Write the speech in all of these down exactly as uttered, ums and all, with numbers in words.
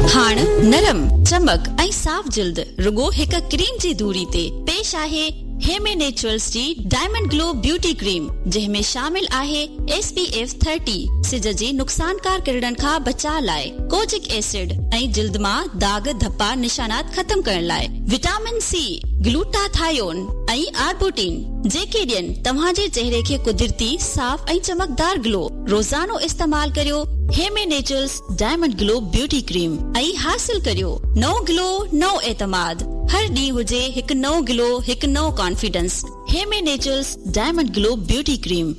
हाण नरम, चमक ऐं साफ़ जिल्द रुगो हिक क्रीम जी दूरी ते पेश आहे हेमे नेचुरल्स जी डायमंड ग्लो ब्यूटी क्रीम, जंहिं में शामिल आहे एस पी एफ थर्टी, सिज जे नुक़सानकार किरणनि खां बचाव लाइ, कोजिक एसिड ऐं जिल्द मां दाग धप्पा निशानात ख़त्म करण लाइ, विटामिन सी, ग्लूटाथायोन ऐं आर्बुटिन, जेके ॾियनि तव्हांजे चेहरे खे कुदरती साफ़ ऐं चमकदार ग्लो। रोज़ानो इस्तेमाल करियो Heme Naturals diamond glow beauty cream ऐं हासिल करियो नओं ग्लो, नओं एतमाद। हर ॾींहुं हुजे हिकु नओं ग्लो, हिकु नओं confidence. Heme Naturals diamond glow beauty cream.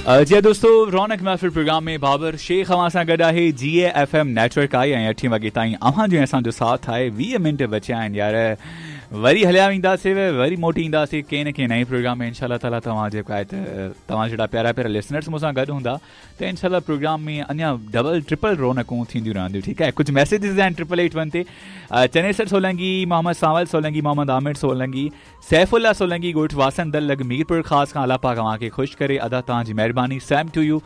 जी दोस्तों, रौनक महफ़िल प्रोग्राम में बाबर शेख अव्हां सां गॾु आहे। जी ए एफ एम नेटवर्क आहे ऐं अठे वॻे ताईं अव्हां जो असांजो साथ आहे। वीह मिंट बचिया आहिनि यार, वरी हलिया वेंदासीं, वरी मोटी ईंदासीं कंहिं न कंहिं नए प्रोग्राम में इंशाअल्लाह ताला। तव्हां जेको आहे त तव्हां जहिड़ा प्यारा प्यारा लिसनर्स मूंसां गॾु हूंदा त इंशाअल्लाह प्रोग्राम में अञा डबल ट्रिपल रौनकूं थींदियूं रहंदियूं। ठीकु आहे, कुझु मैसेजिस आहिनि ट्रिपल एट वन ते। चनेसर सोलंगी, मोहम्मद सावल सोलंगी, मोहम्मद आमिर सोलंगी, सैफुल्ला सोलंगी, ॻोठ वासन दल लॻ मीरपुर ख़ास खां। अलाह पाक अव्हांखे ख़ुशि करे, अदा तव्हांजी महिरबानी। Same to you.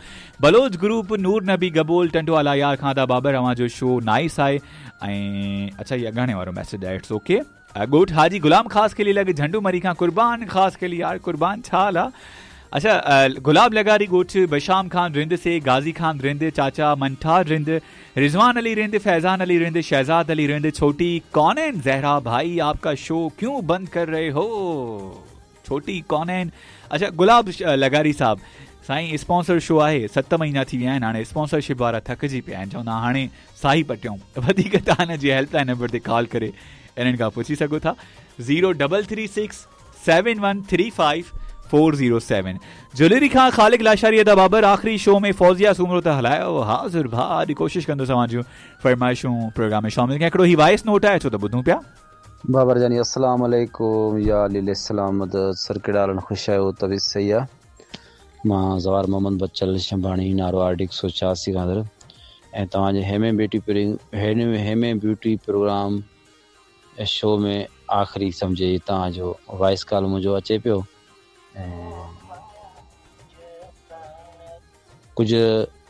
Baloch group Noor Nabi Gabol Tando Allahyar खां। अदा बाबर अव्हांजो शो नाइस आहे। ऐं अच्छा, इहो अॻाणे वारो मैसेज आहे, it's okay. ॻोठ हाजी गुलाम ख़ास के लिए लॻ झंडू मरी खां कुर्बान ख़ास के लिए। यार कुर्बान छा हाल आहे? अच्छा, गुलाब लगारी ॻोठ बशाम खान रिंद से, गाज़ी खान रिंद, चाचा मंठार रिंद, रिजवान अली रिंद, फैज़ान अली रिंद, शहजाद अली रिंद, छोटी कौनैन जहरा भाई आपका शो क्यों बंद कर रहे हो, छोटी कौनैन। अच्छा, गुलाब लगारी साहब साईं स्पॉन्सर शो आहे, सत महीना थी विया आहिनि, हाणे स्पॉन्सरशिप वारा थकिजी पिया आहिनि, चवंदा हाणे साही पटियूं। वधीक तव्हां हिन जी हेल्पलाइन नंबर ते कॉल करे इन्हनि खां पुछी सघो था, zero double three six seven one three five four zero seven. Jewellery खां ख़ालिक लाशारी अदा बाबर आख़िरी शो में फौजिया सूमरो त हलायो। हाज़िर भाउ, अॼु कोशिशि कंदुसि अव्हां फरमाइशूं प्रोग्राम में शामिल कयां। हिकिड़ो ही वॉइस नोट आहे, छो त ॿुधूं पिया। बाबर जानी अस्सलाम वालेकुम, या अली सलाम मदद सर कहिड़ा ख़ुशि आहियो? तबीयत सही आहे? मां ज़वार मोहम्मद बचल शंभाणी नारो आर डी हिकु सौ छियासी खां अंदरि ऐं तव्हांजे हेमे ब्यूटी हेमे ब्यूटी प्रोग्राम शो में आख़िरी सम्झे तव्हांजो वॉइस कॉल मुंहिंजो अचे पियो ऐं कुझु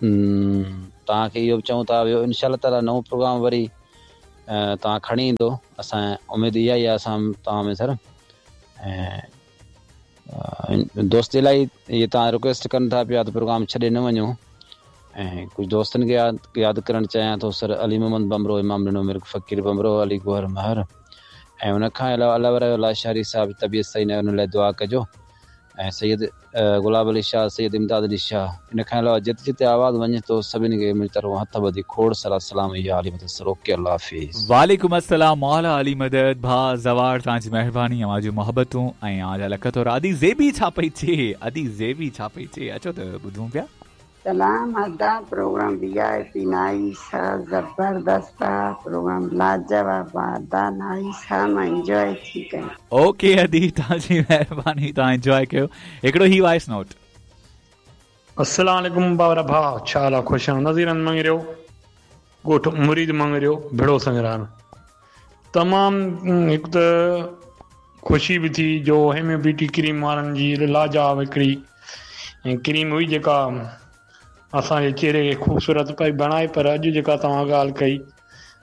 तव्हांखे इहो बि चऊं था, ॿियो इनशा ताला नओं प्रोग्राम वरी तव्हां खणी ईंदो, असां उमेद इहा ई आहे असां तव्हां में सर। ऐं दोस्त इलाही इहे तव्हां रिक्वेस्ट कनि था पिया त प्रोग्राम छॾे न वञो। ऐं कुझु दोस्तनि खे यादि यादि करणु चाहियां थो, सर अली मोहम्मद बमरो, इमाम ॾिनो मिर्क फ़क़ीर बमरो, अली गोहर महर, ऐं उन खां अलावा अलावा लाशारी साहिब जी तबियत सही न आहे, उन लाइ दुआ कजो। ऐं सैयद गुलाब अली शाह, सैयद इमदाद अली शाह, इन खां अलावा जिते जिते आवाज़ वञे थो सभिनी खे मुंहिंजी तरफ़ां हथ ॿधी खोड़ सारा सलाम। या अली मदद सर, ओके, अल्लाह हाफ़िज़। वालेकुम अस्सलाम, मौला अली मदद। भाउ ज़वार, तव्हांजी महिरबानी, अव्हां जूं मोहबतूं ऐं अव्हां जा लख थोरा। अदी ज़ेबी छा पई थिए? अदी ज़ेबी छा पई थिए? अचो त ॿुधूं पिया। सलाम अदा, program V I P nice आहे, ज़बरदस्त आहे प्रोग्राम, लाजवाब आहे अदा, नाइस आहे, मां एंजॉय थी कयां। ओके अदी, तव्हांजी महिरबानी, तव्हां एंजॉय कयो। हिकिड़ो ही वॉइस नोट। अस्सलाम वालेकुम बाबरा भाउ, छा हाल आहे? ख़ुशि आहियो? नज़ीरन मंगरियो, ॻोठ मुरीद मंगरियो, भिड़ो संगरान। तमामु हिकु त ख़ुशी बि थी जो हेमे ब्यूटी क्रीम वारनि जी लाजवाब हिकिड़ी क्रीम हुई जेका असांजे चेहरे खे ख़ूबसूरत पई बणाए, पर अॼु जेका तव्हां ॻाल्हि कई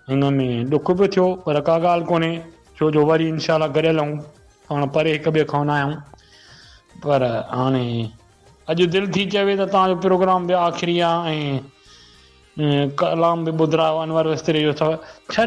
हिन में ॾुख बि थियो, पर का ॻाल्हि कोन्हे, छो जो वरी इनशा गॾियल आहियूं, पाण परे हिक ॿिए खां न आहियूं। पर हाणे अॼु दिलि थी चवे त तव्हांजो प्रोग्राम बि आख़िरी आहे ऐं कलाम बि ॿुधायो अनवर वस्त्रे जो अथव। छॾ